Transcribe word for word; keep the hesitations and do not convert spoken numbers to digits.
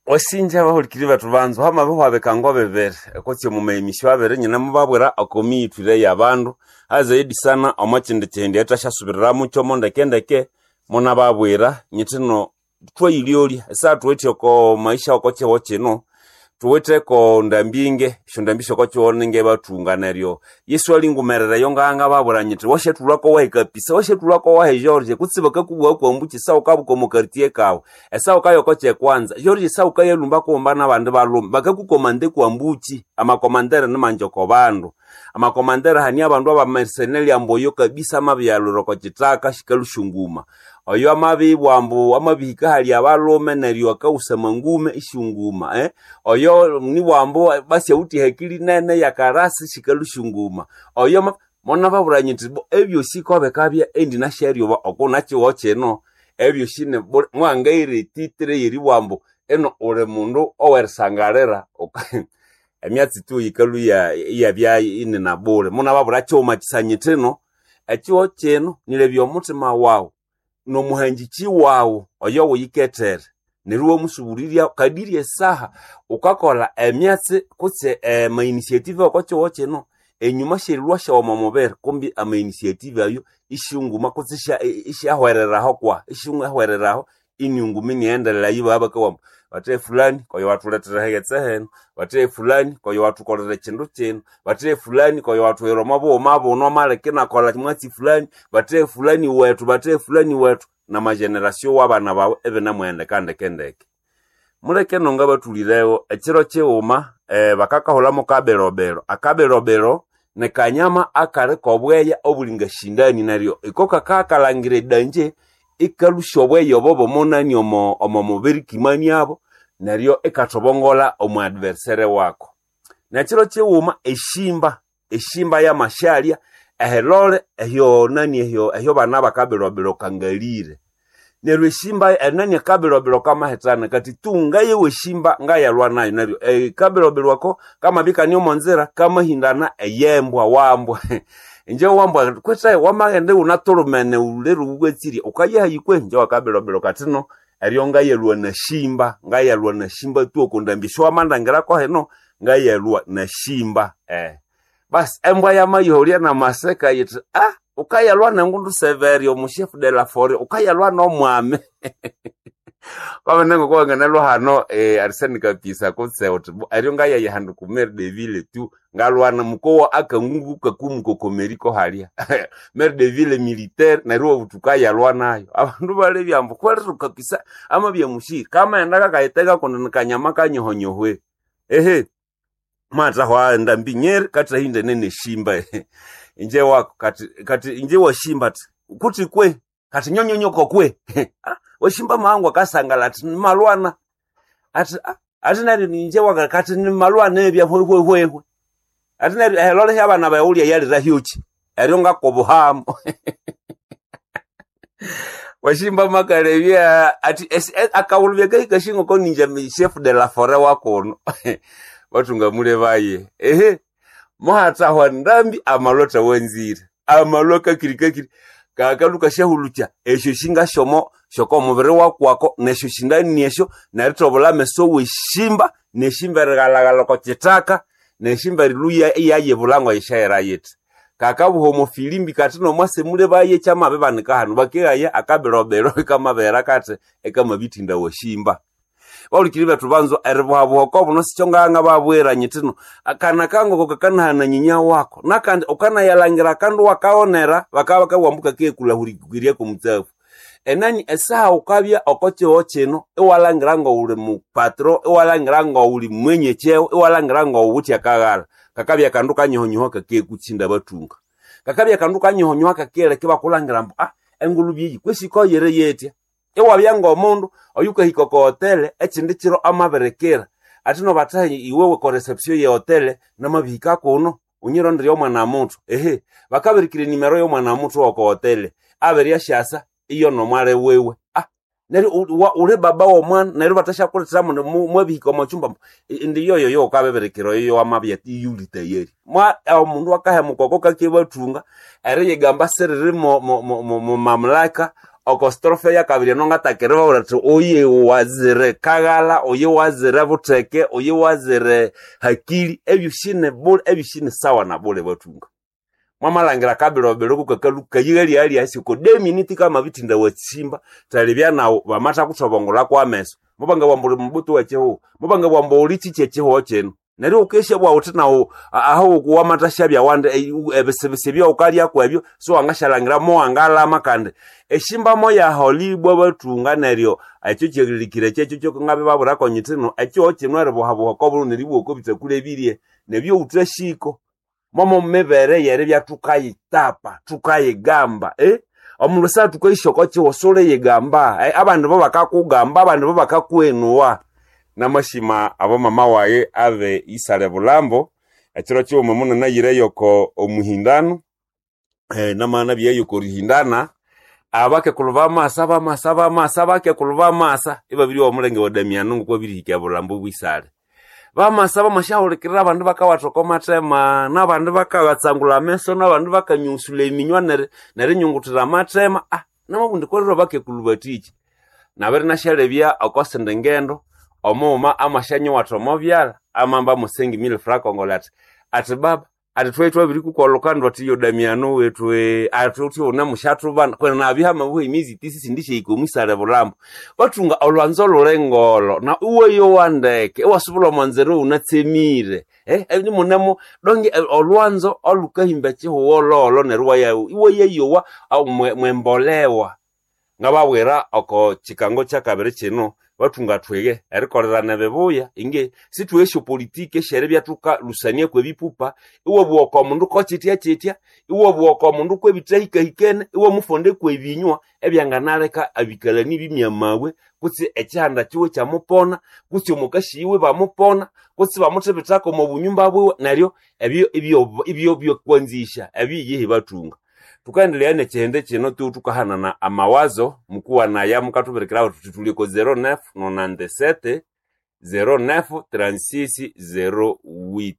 Wasinja abahulikiri bethu banzu hamabihwa bikango bibiri kutse omu maemisyo abiri nyinamubabwira oko miyithwire y'abandu azaidi sana omo kindi kihindi ethwasyasubiriramu kyomo ndekendeke munababwira nyithi no thwayilyolya esaha thuwithe oko maisha oko kihugho kino thuwitheko ndambi esyondambi syoko kihugho ningebathunga neryo Yesu alingumerera eyo ngangababwira nyithi wasyathulhako wahi kapisa wasyathulhako wahi George kutse bakakubugha kwambu esaha wukabuka omo quartier kawu esaha wukaya oko kyekwanza George esaha wukayalhumba kughuma n'abandi balhume bakakukomanda kwambuki amakomandere nimangi oko bandu amakomandere hani abandu abamercenary ambu oyo kabisa amabiyalhwira oko kithaka sikalhusya nguma oyo amabibwa ambu amabihika hali abalhume neryo akawusa amangume isyunguma eh? Oyo nibwa ambu basi awithe ehakili nene yakarasi sikalhusya nguma oyo ma monababwira nyithi bo ebyosi kobikabya endinasyaryuba oko nakihugho kino ebyosi ni- mwangaira etitire yeribugha ambu ino uli mundu owerisangalira emyatsi tu yikalhwa iyabya inina bule munababwira kighuma kisa nyithi ino ekihugho kino nilebya omuthima wawu nomuhangiki wawu oyo wuyikethere neryo iwamusubulirya kadiri esaha wukakolha emyatsi kutse ama initiative oko kihugho kino enyuma syerilhwa syawu omo mubiri kumbi ama initiative ayo isyunguma kutse isyahwereraho kwa isyahwereraho iniunguma inighendelera ibabya bakabugha ambu bathe fulani koyo wathulethera eghetse henu bathe fulani koyo wathukolera ekindu kino bathe fulani koyo wathuhira omo bughuma buno amaleka inakolha mwatsi fulani bathe fulani wethu bathe fulani wethu namageneration wabana bawu ibinamuhendeka ndekendeke muleke nonga bathulirewo ekiro kighuma eh, bakakahulhamu kabirobero akabirobero nikanyama akali kobweya obulinga shindani neryo iko kakakalhangira edanje ikalhusya obweya obo bomunani omo omo mubiri kimaniabo neryo ikathobongola omu adversaire wako nekiro kighuma eshimba eshimba yamashalya ehilole ehyo nani ehyo ehyo bana bakabirobero kangalire neryo eshimba enani akabirobero kamahithana kati tu ngayewa eshimba ngayalwa nayo neryo ekabirobero ako kamabikania omo nzira kamahindana eyembwa wambwa inje wambwa kwethe wamaghenda iwunathulumene wulere wuwatsirye wukayahayi kwe inje wakabirobero katino eryo ngayalhwa nashimba ngayalhwa nashimba tu oko ndambi esyowamandangira hino ngayalhwa nashimba eh. Basi embwa yamayiholya namaseka yithi ah wukayalhwa nengundu severe omu chef de la forêt wukayalhwa nomwami kwamene ngoko wanganalwa hano eh, Arsene Kapisa kutse uthi bo eryo ngayaya handu ku maire de ville tu ngalwana mukowa akangungu kakumukokomeriko halya maire de ville militaire neryo obuthi wukayalwa nayo abandu balebya ambu kweriru kapisa amabya mushiri kamaghenda kakayiteka kundi nikanyama kanyohonyohwe ehe mwathahwa ndambi nyeri kathahindene neshimba inje wako kati kati inje washimba ati kuti kwe kati nyonyonyoko kwe Ah, washimba mahangu akasangala ati nimalwana ati ah, ati neryo ninje waka kati nimalwana ebya hwehwehwehwe ati neryo ehelole hyabana baghulya yalira hyuki eryo ngakobuhamu washimba makalebya ati esi- e- akawulubya kahika shingoko ninje chef de la forêt wakuno bathunga mule baye ehe muhathahwa ndambi amalwa thawanzire amalwa kakiri kakiri kakaluka syahulukya esyo shingasyomo syoko omubiri wakwako nesyo shindani esyo nerithobola ameso weshimba neshimba erighalaghala oko kithaka neshimba erilhuya iyayibulha ngoyishayira yithi kakabuha omo filimbi kati nomwase mule baye kyamabibanika hanu bakeghaya akabirobero ikamabera kati ikamabithinda washimba bahulikiri bethu banzo eribuhabuha oko buno sikyo ngangababwira nyithino akana kangoko kakanahana nyinya wako nakandi ukanayalangira akandu wakaghonera bakabya bakabugha kakekulahurikirya komutsafu enani esaha wukabya oko kihugho kino iwalhangira ngowuli mupatro iwalhangira ngowuli mwenye cheo iwalhangira ngowuwithe akaghala kakabya akandu kanyohonyoho kakekutsinda bathunga kakabya akandu kanyohonyoho kakiyileka ibakulhangira ambu ah engulube eyi kwesi koyire yetya iwabya ngomundu oyukahika oko hotele ekindi kiro amabirikira athi nobathahi iwe ko reception ye hotele namabihika kuno unyirondere omwana muthu ehe bakabirikira enimero y'omwana muthu woko hotele abiryasyasa iyo nomwali wiwe ah neryo u- wa- uli baba w'omwana neryo bathasyakulethera muno mu- mwabihika omo kyumba indi yoyo yo ukabibirikira oyo wamabya iyuli tayari mwa omundu akahemuka oko kakebathunga eriyigamba siriri mo, mo, mo, mo, mo mamlaka Oko strofe ya kabiri eno ngatakere babwira athi oye wazire kaghala, oye wazire butheke, oye wazire hakili, ebyosi ni bule, ebyosi ni sawa na bule bathunga. Mwamalangira kabirobiro kukakalu kayighali asi oko deminiti kamabithinda watsimba talibya nawu bamathakuthobongola kwameso mubanga bwamba uli mubuto wekihuho mubanga bwamba uli kiki ekihuho kino neryo ukesha bwawuthi nawu aho wamathashabya wandi ebisibisi ebyawukalyaku ebyo siwangasyalangira mowangalama kandi eshimbamo yaholibwa bathunga neryo ekyo kyerilikire kyekyo kyokungabibabwirako nyithino ekihuho kino eribuhabuha okobulhu neribugha oko bitakuli ebirye nebyo wuthashiko momo mibere yeribya thukayitapa thukayigamba eh? Omundu sa thukayisya oko kihuho suliyigamba eh, abandi bo bakakugamba abandi bo bakakwenuwa. Namashima abo mama waye abe isale bulambo ekiro kighuma munanayireyo oko omuhindano eh, namana byeyo oko rihindana abakekulhu bamasa bamasa bamasa abakekulhu bamasa ibabiri omulenge wa Damiano ngokwabirihika bulambo bwisale bamasa bamasyahulikirira abandu bakawatha oko mathema n'abandu bakabatsangula ameso n'abandu bakanyusula eminywa neri nerinyunguthira amathema ah namabundi kwerero bakekulhu bathiki nabiri nasyalebya oko sindi ngendo omughuma amasyanyuwatha omo byalha amamba musengi mille francs congolais athi athi baba athi thwayi twabirikukolha ndu athi yo Damiano wethu eh, athi uthi unemusyathubana kwena nabya hamabuha emyezi tisi sindisyahika omwisale bulambo bathunga olwanzo luli ngolo na iwayowa ndeke iwasubulha omwanzira iwunatsemire eh, eh, munemo donge eh, olwanzo olukahimba ekihuho lolo neryo iwaya iwayayowa au mwe- mwembolewa ngababwira oko kikango kyakabiri kino bathunga thwige erikolelana ebibuya inge sithuhe esyopolitiki esyeribya thukalhusania kwebipupa iwabugha oko mundu kokyitya kyitya iwabugha oko mundu kwebithahikahikene iwamufonda kwebinywa ebyanganaleka abikalani bimyamabwe kutse ekihanda kiwe kyamupona kutse omukasi yiwe bamupona kutse bamuthibithako omo bunyumba bwiwe neryo ebyo ibyo ibyo byokwanzisha ebyo yihi bathunga tukaendelea nekihende kino tu tukahanana amawazo mukuwanaya mukathubirikiraho thuthi thuli ko zero nine nonante-sept zero nine trente-six zero huit.